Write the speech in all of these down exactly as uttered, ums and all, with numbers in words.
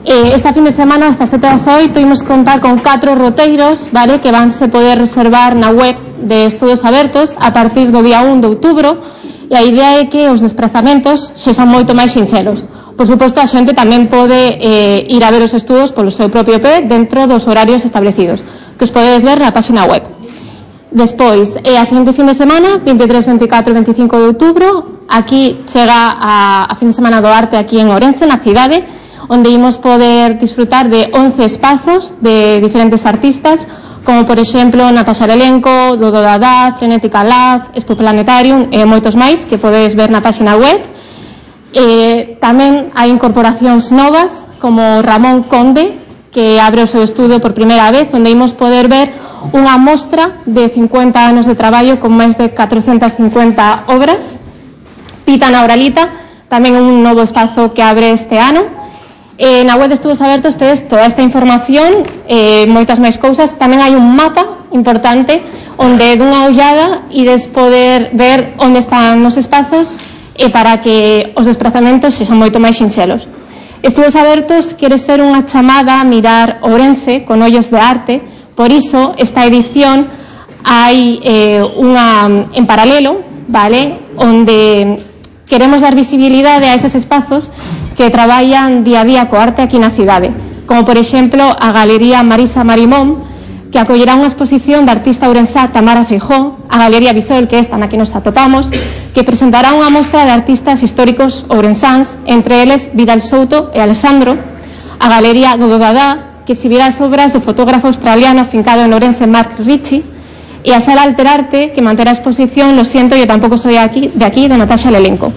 Eh, esta fin de semana, hasta sete a dezaoito, imos contar con catro roteiros, vale, que vanse poder reservar na web de Estudos Abertos a partir do día un de outubro, e a idea é que os desprazamentos sexan moito máis sinxelos. Por suposto, a xente tamén pode eh, ir a ver os estudos polo seu propio pé dentro dos horarios establecidos, que os podedes ver na página web. Despois, eh, a seguinte fin de semana, vinte e tres, vinte e catro e vinte e cinco de outubro, aquí chega a, a fin de semana do arte aquí en Ourense, na cidade, onde imos poder disfrutar de once espazos de diferentes artistas, como por exemplo Natasha Lelenko, Dodo Dada, Frenética Lab, Expo Planetarium e moitos máis que podedes ver na página web. Eh, tamén hai incorporacións novas como Ramón Conde, que abre o seu estudio por primeira vez, onde imos poder ver unha mostra de cincuenta anos de traballo con máis de catrocentas cincuenta obras. Pita na Oralita, tamén un novo espazo que abre este ano. Eh, na web de Estudos Abertos tedes toda esta información, eh, moitas máis cousas. Tamén hai un mapa importante onde dunha ollada ides poder ver onde están os espazos e para que os desprazamentos sexan moito máis sinxelos. Estudos Abertos quere ser unha chamada a mirar Ourense con ollos de arte, por iso esta edición hai eh, unha en paralelo, vale, onde queremos dar visibilidade a eses espazos que traballan día a día co arte aquí na cidade, como por exemplo a Galería Marisa Marimón, que acollerá unha exposición da artista ourensá Tamara Feijó, a Galería Visol, que esta na que nos atopamos, que presentará unha mostra de artistas históricos ourensáns, entre eles Vidal Souto e Alessandro, a Galería Dodo Dada, que exhibirá as obras do fotógrafo australiano afincado en Ourense Mark Ritchie, e a Sala Alterarte, que manterá a exposición Lo siento, yo tampouco soy aquí, de aquí, de Natasha Lelenko.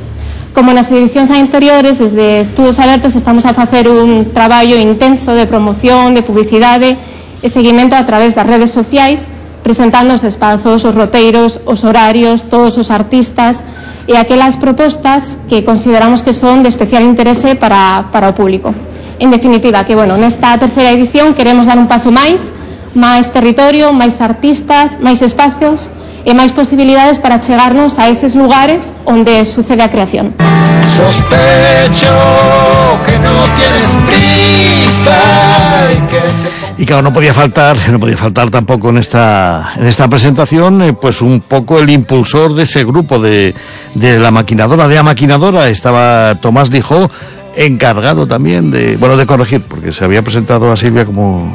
Como nas edicións anteriores, desde Estudos Abertos estamos a facer un traballo intenso de promoción, de publicidade e seguimento a través das redes sociais, presentando os espazos, os roteiros, os horarios, todos os artistas e aquelas propostas que consideramos que son de especial interese para, para o público. En definitiva, que, bueno, nesta terceira edición queremos dar un paso máis, máis territorio, máis artistas, máis espacios e máis posibilidades para chegarnos a eses lugares onde sucede a creación. Sospecho que no tienes prisa y que... Y claro, no podía faltar, no podía faltar tampoco en esta en esta presentación, eh, pues un poco el impulsor de ese grupo de, de la maquinadora, de la maquinadora, estaba Tomás Lijó, encargado también de, bueno, de corregir, porque se había presentado a Silvia como,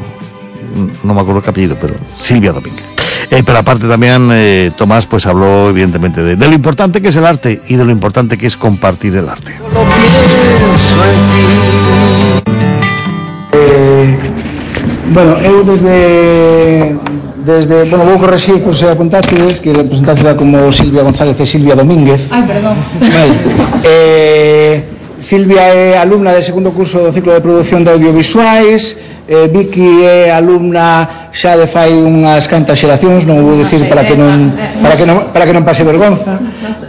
no me acuerdo el apellido, pero Silvia Domínguez. Eh, pero aparte también eh, Tomás pues habló evidentemente de, de lo importante que es el arte y de lo importante que es compartir el arte. Eh, bueno, eu desde desde, bueno, vou corregir por se apuntastedes que representaste como Silvia González e Silvia Domínguez. Ai, perdón. Vale. Eh, Silvia é alumna de segundo curso do ciclo de produción de audiovisuais. Eh, Vicky é alumna xa de fai unhas cantas xeracións, non vou dicir para que non para que non para que non pase vergonza.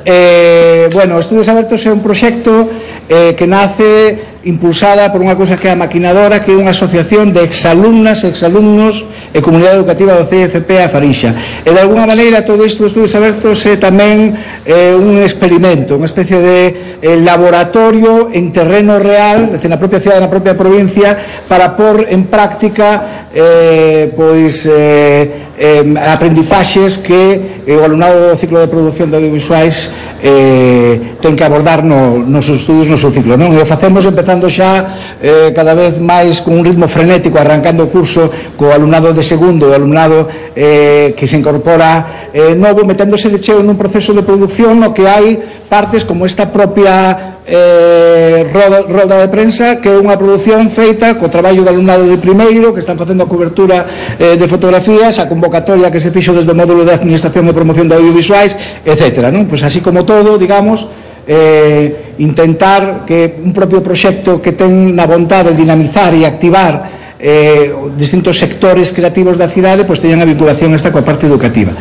Eh, bueno, Estudos Abertos é un proxecto eh, que nace impulsada por unha cousa que é a Maquinadora, que é unha asociación de exalumnas, exalumnos e comunidade educativa do C F P a Farixa. E de alguna maneira todo isto de Estudos Abertos é tamén eh, un experimento, unha especie de eh, laboratorio en terreno real, decir, na propia cidade, na propia provincia, para pôr en práctica eh, pois eh, eh, aprendizaxes que eh, o alumnado do ciclo de produción de audiovisuais eh, ten que abordar no, nos seus estudios no seu ciclo, non? E o facemos empezando xa eh, cada vez máis con un ritmo frenético, arrancando o curso co alumnado de segundo, o alumnado eh, que se incorpora eh, novo, meténdose de cheo nun proceso de produción no que hai partes como esta propia eh, roda, roda de prensa, que é unha produción feita co traballo do alumnado de primeiro, que están facendo a cobertura eh, de fotografías, a convocatoria que se fixo desde o módulo de administración e promoción de audiovisuais, etcétera, non? Pois así como todo, digamos, eh, intentar que un propio proxecto que ten na vontade de dinamizar e activar eh, distintos sectores creativos da cidade, pois teñan a vinculación esta coa parte educativa.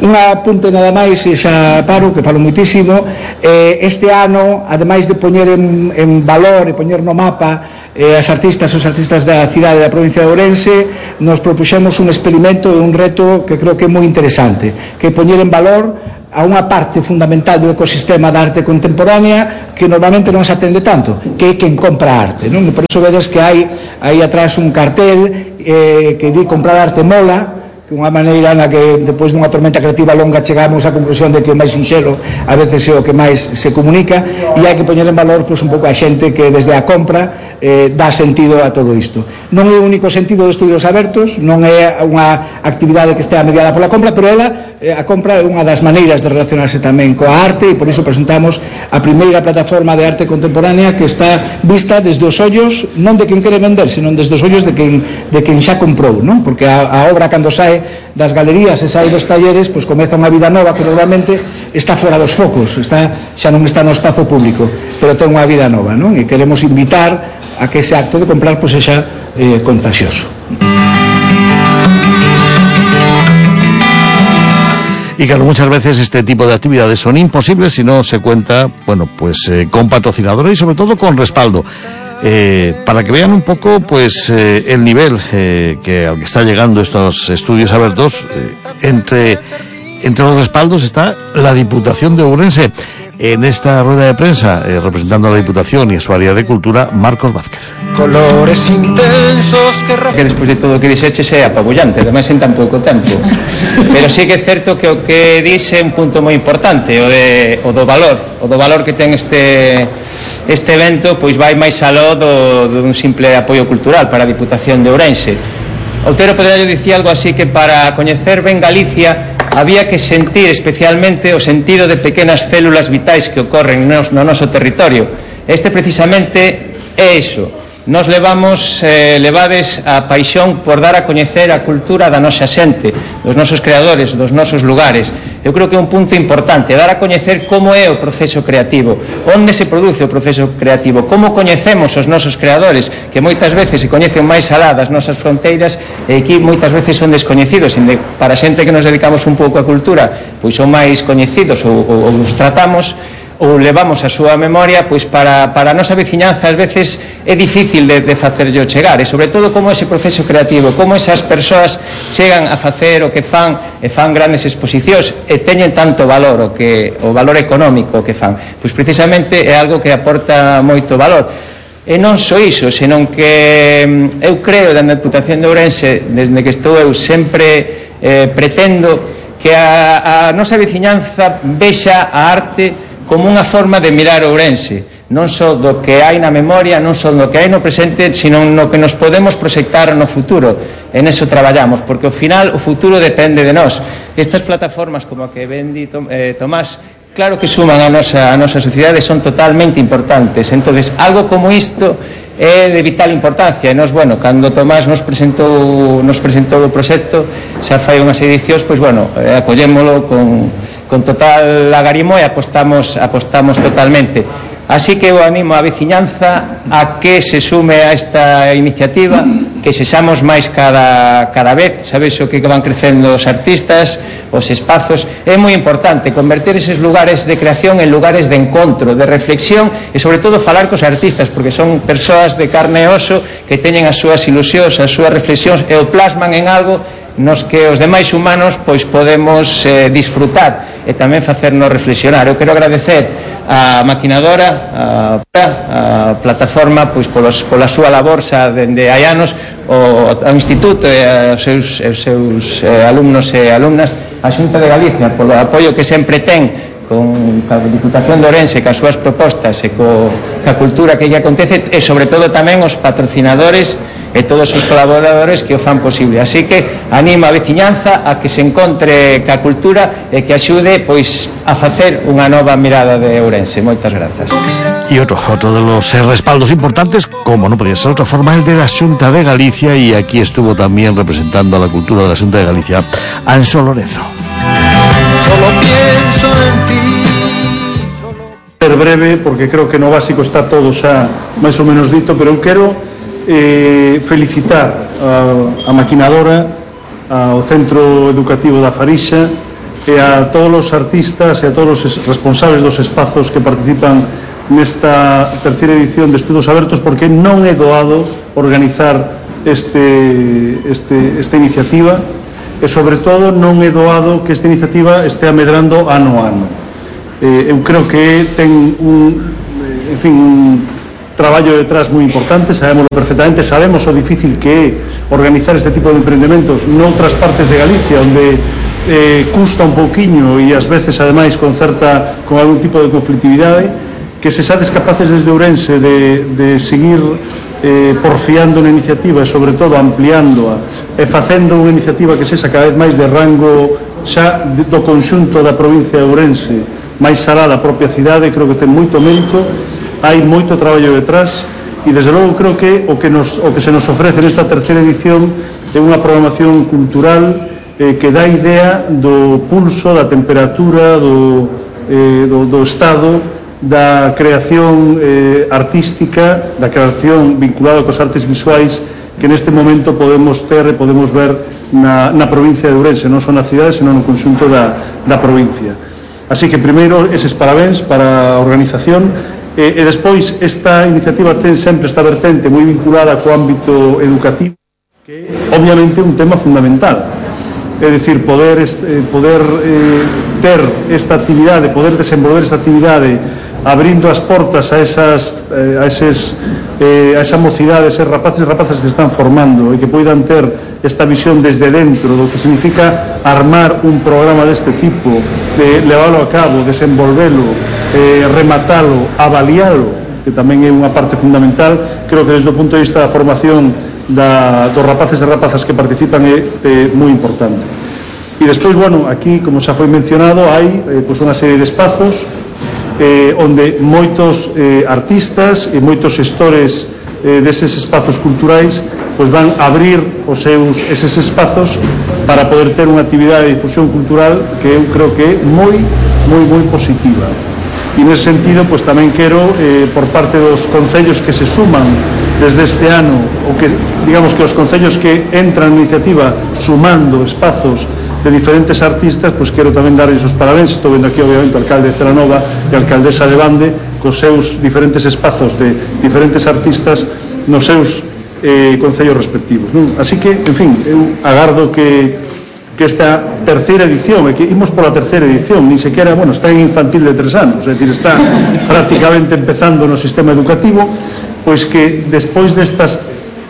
Un apunte nada máis, e xa paro, que falo muitísimo. Eh, este ano, ademais de poñer en, en valor e poñer no mapa eh, as artistas os artistas da cidade da provincia de Ourense, nos propuxemos un experimento e un reto que creo que é moi interesante, que é poñer en valor a unha parte fundamental do ecosistema da arte contemporánea que normalmente non se atende tanto, que é quen compra arte, non? E por iso vedes que hai aí atrás un cartel eh, que di comprar arte mola, que unha maneira na que depois dunha tormenta creativa longa chegamos á conclusión de que o máis sinxelo a veces é o que máis se comunica, e hai que poñer en valor pois, un pouco a xente que desde a compra eh, dá sentido a todo isto. Non é o único sentido de Estudios Abertos, non é unha actividade que estea mediada pola compra, pero ela, eh, a compra é unha das maneiras de relacionarse tamén coa arte, e por iso presentamos a primeira plataforma de arte contemporánea que está vista desde os ollos non de quen quere vender, senón desde os ollos de quen, de quen xa comprou, non? Porque a, a obra cando sae das galerías e sai dos talleres, pois comeza unha vida nova que normalmente está fora dos focos, está, xa non está no espazo público, pero ten unha vida nova, non? E queremos invitar a que ese acto de comprar pois sexa eh, contagioso. Y claro, muchas veces este tipo de actividades son imposibles si no se cuenta, bueno, pues eh, con patrocinadores y sobre todo con respaldo. Eh, para que vean un poco pues eh, el nivel eh, que al que está llegando estos Estudios Abertos, eh, entre entre los respaldos está la Diputación de Ourense. En esta rueda de prensa, eh, representando a la Diputación y a su área de Cultura, Marcos Vázquez. Colores intensos que... Que despois de todo o que dixeches é apabullante, ademais en tan pouco tempo. Pero sí que é certo que o que dixe é un punto moi importante, o, de, o do valor, o do valor que ten este, este evento, pois vai máis aló do, dun simple apoio cultural para a Diputación de Ourense. Outero podería dicir algo así que para coñecer ben Galicia había que sentir especialmente o sentido de pequenas células vitais que ocorren no, no noso territorio. Este precisamente é iso. Nos levamos eh, levades a paixón por dar a coñecer a cultura da nosa xente, dos nosos creadores, dos nosos lugares. Eu creo que é un punto importante, dar a coñecer como é o proceso creativo, onde se produce o proceso creativo, como coñecemos os nosos creadores, que moitas veces se coñecen máis alá das nosas fronteiras e aquí moitas veces son descoñecidos, e para a xente que nos dedicamos un pouco á cultura, pois son máis coñecidos ou, ou, ou os tratamos ou levamos a súa memoria, pois para, para a nosa veciñanza ás veces é difícil de, de facerllo chegar, e sobre todo como ese proceso creativo, como esas persoas chegan a facer o que fan e fan grandes exposicións e teñen tanto valor, o, que, o valor económico que fan, pois precisamente é algo que aporta moito valor. E non só iso, senón que eu creo da Diputación de Ourense, desde que estou eu sempre eh, pretendo que a, a nosa veciñanza vexa a arte como unha forma de mirar Ourense, non só do que hai na memoria, non só do que hai no presente, sino no que nos podemos proxectar no futuro. En eso traballamos, porque ao final o futuro depende de nós. Estas plataformas como a que ven di eh, Tomás, claro que suman a nosa, a nosa sociedade, son totalmente importantes. Entonces, algo como isto é de vital importancia, e nós, bueno, cando Tomás nos presentou nos presentou o proxecto xa fai unhas edicións, pois bueno, eh, acollémolo con, con total agarimo e apostamos, apostamos totalmente. Así que eu animo a veciñanza a que se sume a esta iniciativa, que sexamos máis cada, cada vez, sabes o que van crecendo os artistas, os espazos. É moi importante converter eses lugares de creación en lugares de encontro, de reflexión e sobre todo falar cos artistas, porque son persoas de carne e oso que teñen as súas ilusións, as súas reflexións e o plasman en algo nos que os demais humanos pois podemos eh, disfrutar e tamén facernos reflexionar. Eu quero agradecer a maquinadora, a, a plataforma, pois polos, pola súa labor xa dende hai anos, o, ao instituto e aos seus, aos seus eh, alumnos e alumnas, a Xunta de Galicia polo apoio que sempre ten con a Diputación de Ourense, cas súas propostas e co, ca cultura que lle acontece, e sobre todo tamén os patrocinadores e todos os colaboradores que o fan posible. Así que anima a veciñanza a que se encontre ca cultura e que axude pois a facer unha nova mirada de Ourense. Moitas grazas. Y otro, otro de los eh, respaldos importantes, como no podía ser de otra forma, el de la Xunta de Galicia, y aquí estuvo también representando a la cultura de la Xunta de Galicia, Anxo Lorenzo. Solo pienso en ti. Ser breve, porque creo que no básico está todo xa máis ou menos dito, pero eu quero eh, felicitar a, a maquinadora, ao Centro Educativo da Farixa e a todos os artistas e a todos os responsables dos espazos que participan nesta terceira edición de Estudos Abertos, porque non é doado organizar este, este, esta iniciativa. e sobre todo non é doado que esta iniciativa este amedrando ano a ano. Eh, eu creo que ten un, en fin, un traballo detrás moi importante, sabémoslo perfectamente, sabemos o difícil que é organizar este tipo de empreendementos noutras partes de Galicia, onde eh, custa un pouquiño e ás veces ademais con certa, con algún tipo de conflictividade, que se sades capaces desde Ourense de, de seguir eh, porfiando na iniciativa e sobre todo ampliándoa e facendo unha iniciativa que sexa cada vez máis de rango xa do conxunto da provincia de Ourense, máis alá da propia cidade, creo que ten moito mérito, hai moito traballo detrás e desde logo creo que o que, nos, o que se nos ofrece nesta terceira edición é unha programación cultural eh, que dá idea do pulso, da temperatura, do, eh, do, do estado da creación eh, artística, da creación vinculada cos artes visuais que neste momento podemos ter e podemos ver na, na provincia de Ourense, non só na cidade, senón no conxunto da, da provincia. Así que primeiro eses parabéns para a organización e, e despois esta iniciativa ten sempre esta vertente moi vinculada co ámbito educativo, que é obviamente un tema fundamental. É dicir, poder, eh, poder eh, ter esta actividade, poder desenvolver esta actividade abrindo as portas a esas eh, a eses eh, a esa mocidade, eses rapaces e rapazas que están formando e que poidan ter esta visión desde dentro do que significa armar un programa deste tipo, de leválo a cabo, desenvolvelo, eh, rematalo, avalialo, que tamén é unha parte fundamental. Creo que desde o punto de vista da formación da, dos rapaces e rapazas que participan é, é moi importante. E despois, bueno, aquí, como xa foi mencionado, hai eh, pois unha serie de espazos eh, onde moitos eh, artistas e moitos xestores eh, deses espazos culturais pois van a abrir os seus, eses espazos para poder ter unha actividade de difusión cultural que eu creo que é moi, moi, moi positiva. E nese sentido, pois tamén quero, eh, por parte dos concellos que se suman desde este ano, ou que, digamos que os concellos que entran na iniciativa sumando espazos de diferentes artistas, pois quero tamén darles os parabéns. Estou vendo aquí obviamente o alcalde de Celanova e a alcaldesa de Bande cos seus diferentes espazos de diferentes artistas nos seus eh, concellos respectivos, non? Así que, en fin, eu agardo que, que esta terceira edición, e que imos pola terceira edición, nin sequera, bueno, está en infantil de tres anos, é dicir, está prácticamente empezando no sistema educativo, pois que despois destas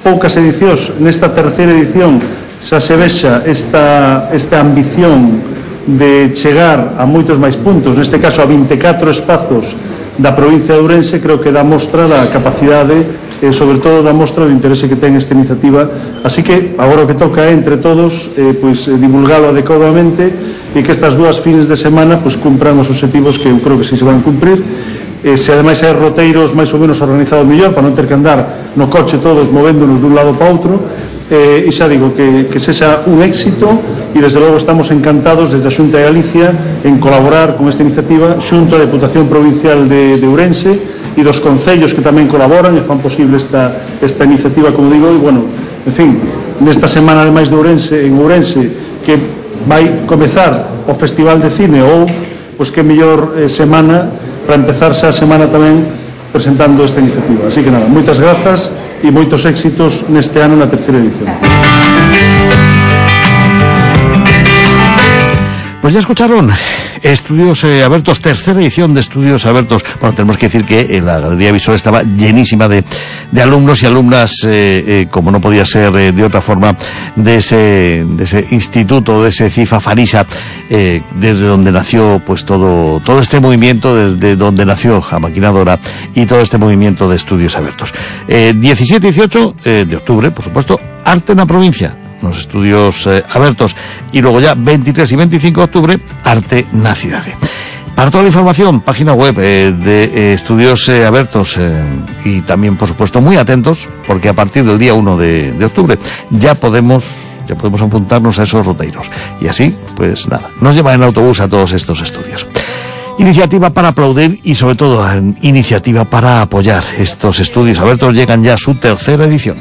poucas edicións, nesta terceira edición xa se vexa esta, esta ambición de chegar a moitos máis puntos, neste caso a vinte e catro espazos da provincia de Ourense. Creo que dá mostra da capacidade e sobre todo dá mostra do interese que ten esta iniciativa. Así que agora o que toca é entre todos eh, pois, divulgalo adecuadamente e que estas dúas fines de semana pois, cumpran os objetivos que eu creo que si se van cumprir. Eh, se ademais hai roteiros máis ou menos organizados mellor, para non ter que andar no coche todos movéndonos dun lado para outro, eh, e xa digo que, que sexa un éxito, e desde logo estamos encantados desde a Xunta de Galicia en colaborar con esta iniciativa xunto á Deputación Provincial de, de Ourense e dos concellos que tamén colaboran e fan posible esta, esta iniciativa, como digo. E bueno, en fin, nesta semana ademais de Ourense, en Ourense, que vai comezar o Festival de Cine ou pois que mellor eh, semana para empezar xa a semana tamén presentando esta iniciativa. Así que nada, moitas grazas e moitos éxitos neste ano na terceira edición. Pues ya escucharon Estudios eh, Abiertos, tercera edición de Estudios Abiertos. Bueno, tenemos que decir que eh, la Galería Visual estaba llenísima de, de alumnos y alumnas, eh, eh, como no podía ser eh, de otra forma, de ese, de ese instituto, de ese CIFA Farisa, eh, desde donde nació pues todo, todo este movimiento, desde donde nació la maquinadora y todo este movimiento de Estudios Abiertos. Eh, diecisiete y dieciocho eh, de octubre, por supuesto, Arte en la Provincia, los estudios eh, abiertos, y luego ya veintitrés y veinticinco de octubre, Arte na Cidade. Para toda la información, página web eh, de eh, Estudios eh, Abiertos, eh, y también, por supuesto, muy atentos, porque a partir del día uno de, de octubre ya podemos ya podemos apuntarnos a esos roteiros. Y así, pues nada, nos llevan en autobús a todos estos estudios. Iniciativa para aplaudir y sobre todo iniciativa para apoyar. Estos estudios abiertos llegan ya a su tercera edición.